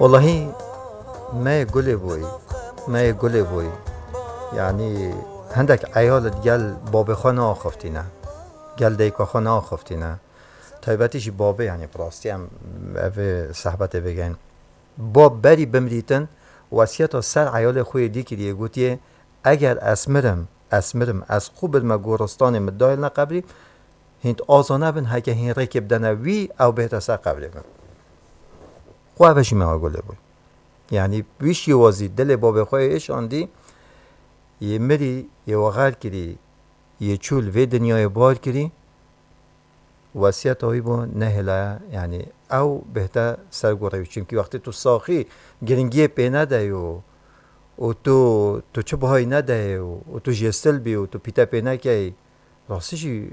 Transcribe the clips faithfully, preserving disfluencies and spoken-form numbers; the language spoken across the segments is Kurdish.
Wellahî me yê gulê boyî, me yê gulê boyî. Yanî hindek eyal digel babê xwe neaxiftîne, gel dayika xwe neaxiftîne. Taybetî jî babê, yanî bi rastî em evê sehbetê bigeyn. Bab berî bimrîtin, wesiyeta ser eyalê xwe yê dî kiriye, gotiye, eger ez mirim, ez mirim, ez qû bidime goristanê min dahil ne qebrî, hîn aza nebin, heke hîn rêkê bidene wî, ew bihête ser qebrê min. Xwe ve jî me gulê bû. Yanî wî şêwazî dilê babê xwe yê şandî, yê mirî, yê wexer kirî, yê çû li vê dinyayê bar kirî, wesiyeta wî bû nehêlaya, yanî ew bihête ser gorê wî. Çimkî wextê tu saxî giringiyê pê nedeyê û, û tu, tu çi bihayî nedeyê û, û tu jêsil bî û tu pîte pê nekeyî, rastî jî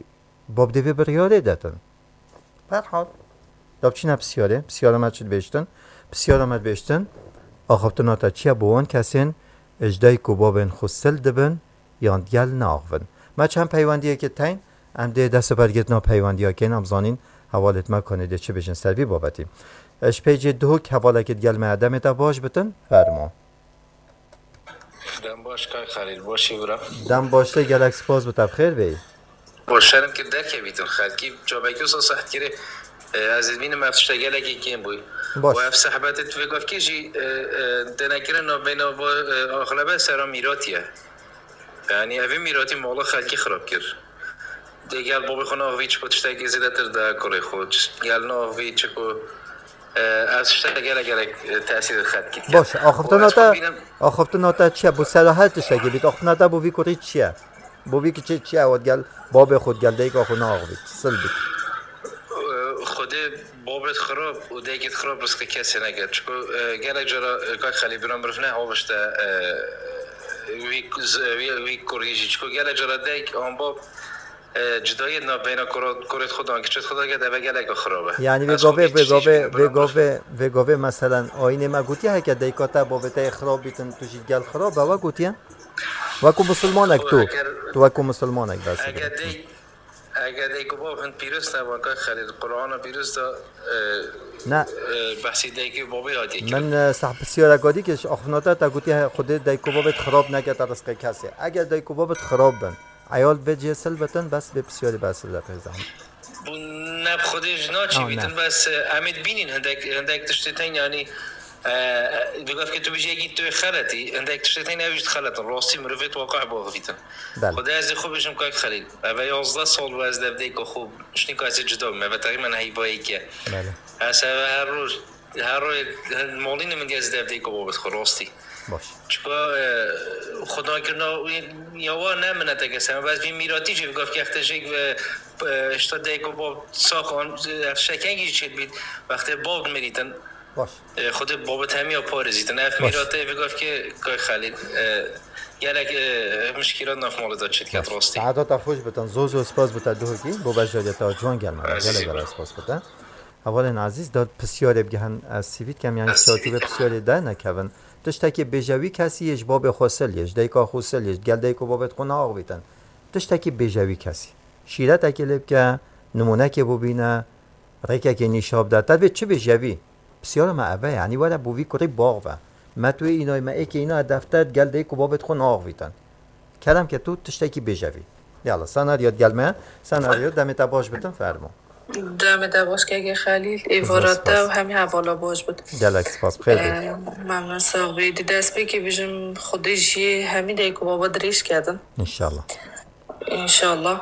bab dê vê biryarê detin. Berhal, da biçîne pisyarê, pisyara me çi dibêjtin? Pisyara me dibêjtin, axaftina te çi ye bo wan kesên ji dayik û babên xwe sil dibin yan digel neaxivin? Me çend peywendiyekê teyn, em dê dest û bergirtina peywendiya kên, em zanîn hevalêt me kanê dê çi bêjin ser vî babetî. Ji pêcê duhok hevalekê digel me ye, demê te baş bitin, fermo. Dem baş kay Xelîl, başî bira. Dem baş te, gelek spas bi te, bi xêr bêyî. Bo şerm kir derkevîtin xelkî, çavekî wisa seht kirê, e, ez dibînim ev tişte gelekî kêm bûy. Baş. Û ev sehbetê tu vê gavkê jî, e, e, denekirina vêna va, e, axlebe sera mîratî ye. Yanî evê mîratî mala xelkî xirab kir. Dê gel babê xwe naxivî çiko tiştekî zêdetir de kurê xwe. Gel naxivî çiko, e, ez tiştek gelek gelek, e, tesîr xelkî dikim. Baş, axiftina te, axiftina te çi ye? Bo sera her tiştekî bît. Axiftina te bo vî kurî çi ye? Bo vî kiçê çi ye? Ew digel babê xwe, digel dayika xwe naxivît. Sil bît. Xwedê babêt xirab û dayikêt xirab rizqê kesê neke. Çiko, e, gelek cara, e, kak Xelî bira mirov ne havişte, e, wî, wî, wî kurî jî. Çiko gelek cara dayik an bab, e, cudayê di nav beyna kura-, kurêt xwe dan kiçêt xwe dake, deve gelek xirab e. Yanî vê gavê, vê gavê, vê gavê, vê gavê meselen ayînê me gotiye heke dayika te babê te yê xirab bîtin, tu jî gel xirab be, we gotiye? Wekû musulmanek tu, tu wekû musulmanek behs dikî. Eger dayik Eger dayik û bab hin pîroz nebin, kak Xelîl, Qur'ana pîroz de, e, ne, e, behsî dayikê û babê hatiye kirin. Min, e, seh pisyareka dî kir, ji axiftina te, te gotiye, Xwedê dayik û babêt xirab neke te rizqê kesê. Eger dayik û babêt xirab bin, eyal vê cihê sil bitin, bes vê pisyarî behs bide pê zehmet. Bû ne bi Xwedê ji naçî bîtin, bes, e, em ê dibînin hindek, hindek tiştê tên, yanî, e, e, bi gavkê tu bijî yekî tu yê xeletî, hindek tiştê tên ew jî dixeletin. Rastî mirovê waqih biaxivîtin. Belê. Xwedê ez ê xwe bijim kak Xelîl. Eve yazdeh sal bû ez li ev dayika xwe ji nîka ez ê cuda bim. Eve teqrîben heyva yekê ye. Belê. Ez eve her roj, her roj molînim min ez li ev dayika babêt xwe rastî. Baş. Çika, e, xwedakirina wî ya wa ne mineteke ser. Ez vî mîratî jî bi gavkê extê jêk ve, e, hişta dayik û bab sax an, e, ev şekengî jî çêdibît. Wextê bab dimirîtin. Baş. E, Xwedê babet hemiya parêzîtin. Ev mîratê vê gavkê kay Xelîl, e, gelek, e, mişkîlat nav malê de çêdiket rastî. Saeta te xweş bitin. Zor zor spas bite duhokî. Bo beşdariya te ciwan gelme. Gelek gelek spas bite. Hevalên ezîz, da pisyarê bigihin, ez sivît kem, yanî şartî ve pisyarê de nekevin. Tiştekî bêje wî kesî yê ji babê xwe sil, yê ji dayika xwe sil, yê ji gel dayik û babêt xwe neaxivîtin. Tiştekî bêje wî kesî. Şîretekê lê bike, nimûnekê bibîne, rêkekê nîşa bide. Te divê çi bêje wî? Pisyara me ev e, yanî were bo vî kurî biaxive. Me tu yê îna yî, me êkê îna ye defter, gel dayik û babêt xwe neaxivîtin. Kerem ke tu tiştekî bêje vî. Yala, senaryo digel me, senaryo, demê te baş bitin, fermo. Demê te baş keke Xelîl, êvara te û hemî hevala baş bit. Gelek spas, bi xêr bî. Ee, memnun, sax bî. Di destpêkê bijim, Xwedê jiyê hemî dayik û baba dirêj kedin. Înşallah. Înşallah.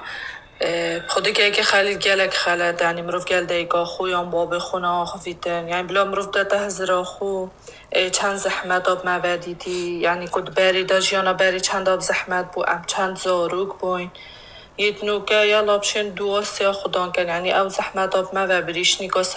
Ee, Xwedê keke Xelîl gelek xelet, yanî mirov gel dayika xwe yan babê xwe neaxivîtin. Yanî bila mirov dete hizira xwe, ê, çend zehmeta bi me ve dîtî, yanî ku di berê de jiyana berê çenda bi zehmet bû, em çend zarok bûyn. Yê di nûke ya labşên duwa siya xudan ken, yanî ew zehmeta bi me ve birîşnîka